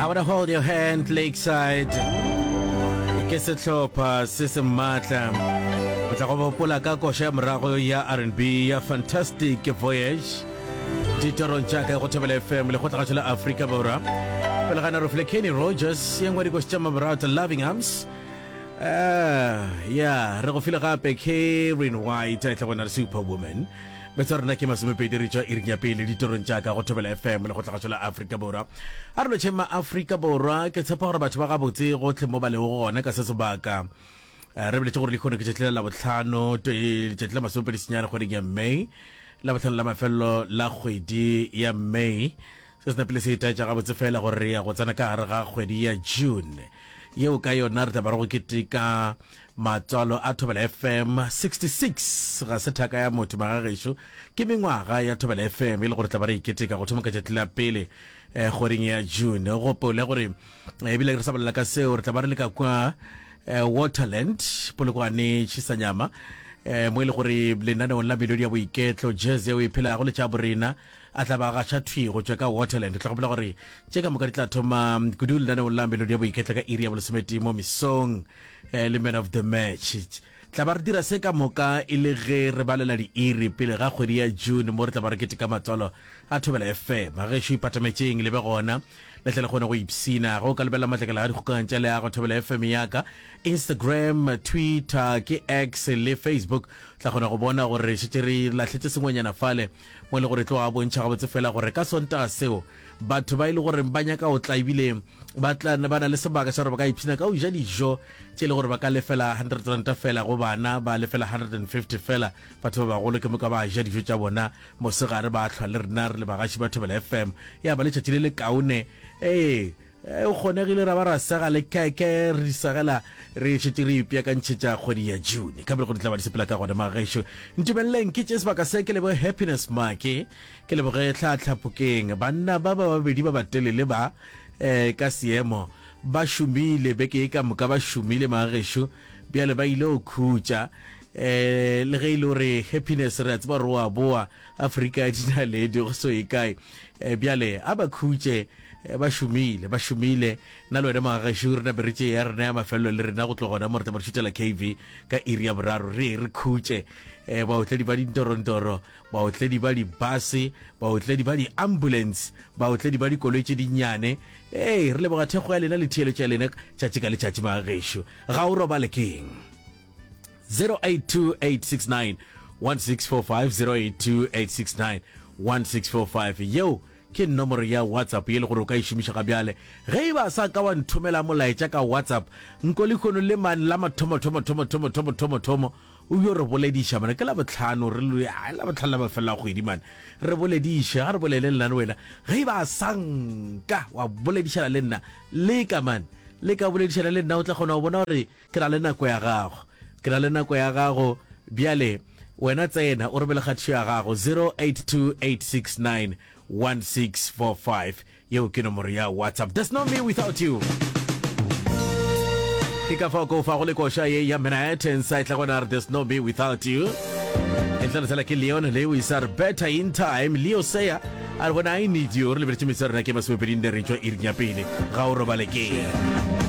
I wanna hold your hand Lakeside. Ke sehlopha se se maatla. O tla go gopola ka koša ya morago ya R&B ya Fantastic Voyage. Ditorong tša ka go Thobela FM le kgotlagatšo la Afrika Borwa. Pele ga naro file Kenny Rogers ye nngwe dikoši tša mamorato Loving Arms. Uh, ya re go file gape Karen White a tla gona re Superwoman. Metso ya rena ke masomepedi re tšwa iring ya pele ditorong tša ka go Thobela FM le go tlagatšo la Afrika Borwa. A re lotšheng ma Afrika Borwa, ke tshepa gore batho ba gabotse gohle mo ba lego gona ka se sebaka. Eh, re boletše gore lehono ke tšatši la Labohlano, letšatši la masomepedi senyane kgweding ya May, Labohlano la mafelelo la kgwedi ya May. Se se napile se itaetša gabotse fela gore re ya go tsena ka gare ga kgwedi ya June, yeo ka yona re tla ba re go keteka matswalo a Thobela FM 66. Ga se thaka ya motho magagešo, ke mengwaga ya Thobela FM e le gore tla ba re e keteka go thoma ka tšatši la pele eh, kgweding ya June. Gopole gore eh, ebile re sa bolela ka seo, re tla ba re le ka kwa eh, Waterland, Polokwane, Chisanyama, eh, mo e le gore lenaneong la melodi ya boiketlo, jazz yeo e phelago le tša borena, a tla ba gaša thwi go tšwa ka Waterland. Tla gopola gore tše ka moka di tla thoma kudu lenaneong la melodi ya boiketlo ka iri ya bolesometee mo mesong eh, le man of the match. Tla ba re dira se ka moka e le ge re balela diiri pele ga kgwedi ya June mo re tla ba re keteka matswalo a Thobela FM. Gešo ipatametšeng le be gona le tle le kgone go ipshina. Ge o ka lebelela matlakala a dikgokagano tša leago Thobela FM ya ka Instagram, Twitter, ke X le Facebook, tla kgona go bona gore re šetše re lahletše sengwenyana fale mo e le gore tlo a bontšha gabotse fela gore ka Sontaga seo batho ba e le gore ba nyaka go tla ebile ba tla ba na le sebaka sa gore ba ka ipshina ka go ja dijo tše e le gore ba ka lefela 100 ranta fela go bana, ba lefela 150 fela batho ba bagolo, ke moka ba ja dijo tša bona mosegare ba hlwa le rena re le bagaši ba Thobela FM. Ya ba letšatši le le kaone. Ee, o kgonegile ra ba ra sega le keke re di segela re šetše re ipeakantšhetša kgwedi ya June. Ka pele go di tla ba di sepela ka gona magešo. Ntumeleleng ke tše sebaka se ke leboge Happiness Make, ke leboge Tlhatlhaphokeng. Banna ba ba babedi ba batelele ba eh, ka seemo ba šomile beke e ka moka ba šomile magešo, bjale ba ile go khutša. Eh, le ge e le gore Happiness re a tseba gore o a boa Afrika ya dinaledi go so ye kae. Eh, bjale a ba khutše. Eh, ba šomile, ba šomile. Nna le wena mogagešo re nape re tšee ya rena ya mafelelo le rena go tloga gona mo re tla ba re šutela KV ka iri ya boraro re ye re khutše. Eh, baotledi ba dintorontoro, baotledi ba dibase, baotledi ba di-ambulance, baotledi ba dikoloi tše dinnyane. Ee, re leboga thekgo ya lena le theeletšo ya lena tšatši ka letšatši magagešo. Ga o robale keng? 082869 1645 082869 1645 yeo Ke nomoro ya WhatsApp ye le gore o ka e šomiša ga bjale. Ge e ba sa ka wa nthomela molaetša ka WhatsApp, nko lehono le mane la mathomo thomo thomo thomo thomo thomo thomo o yo re bolediša mane. Ke Labohlano re le ai Labohlano la mafelelo a kgwedi mane. Re bolediše, ga re bolele nna le wena. Ge e ba sa nka wa boledišana le nna, leka mane. Leka boledišana le nna o tla kgona go bona gore Ke na le nako ya gago. Ke na le nako ya gago. Bjale, wena tsena o romele kgatišo ya gago, 0828691645. Yeo ke nomoro ya WhatsApp. There's no me without you. Ke ka fao ke o fago le koša ye ya Manhattan sa etla gona re There's no me without you. E tla re ke Leon Lewis a re better in time. Leo Seya a re bona I need you. Re lebeletše metso ya rena ke masomepedi nne re tšwa iring ya pele. Ga o robale ke.